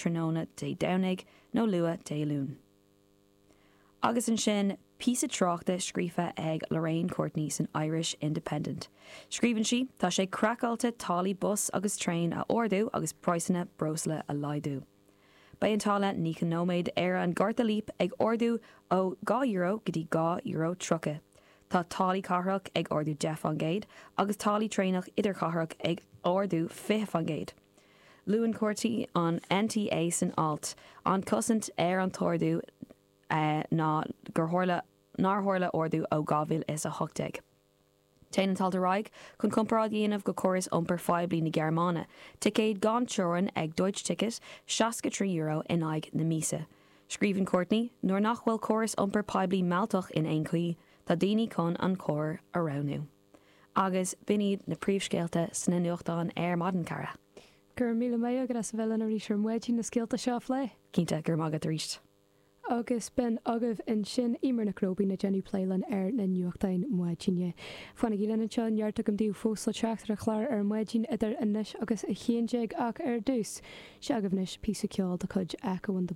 tráthnóna Dé Domhnaigh nó luath Dé Luain. Agus ansin, píosa tráchta scríofa ag Lorraine Courtney san Irish Independent. Scríobhann sí, Tá sé craiceáilte táillí bus agus traein a ardú agus praghsanna breosla a laghdú. Beidh an táille 90 nóiméad ar an gcárta Leap ag ardú ó €2 go dtí €2.30. Tá táillí cathrach ag ardú 10% agus táillí traenach idirchathrach ag ardú 20%. Luann Courtney an NTA san alt. An cosaint ar an t-ardú ná gur tharla nár tharla ardú ó 2018. Téann an t-alt ar aghaidh chun comparáid a dhéanamh go córas iompair phoiblí na Gearmáine, ticéad gan teorainn ag Deutsche Ticket, €63 in aghaidh na míosa. Scríobhann Courtney, Nuair nach bhfuil córas iompair poiblí mealltach in aon chaoi, tá daoine chun an carr a roghnú. Agus b'in iad na príomhscéalta sna nuachtáin ar maidin, cara. Go raibh míle maith agat as a bheith linn arís ar maidin na scéalta seo a phlé. Cinnte, go raibh maith agat arís. Agus b'in agaibh ansin Eimear Nic Róibín ag déanamh plé linn ar na nuachtáin maidine. Fanaigí linn anseo, neart agam daoibh fós le teacht ar an chlár ar maidin idir anois agus 11 ach ar dtús, seo agaibh anois píosa ceoil de chuid Echo and the.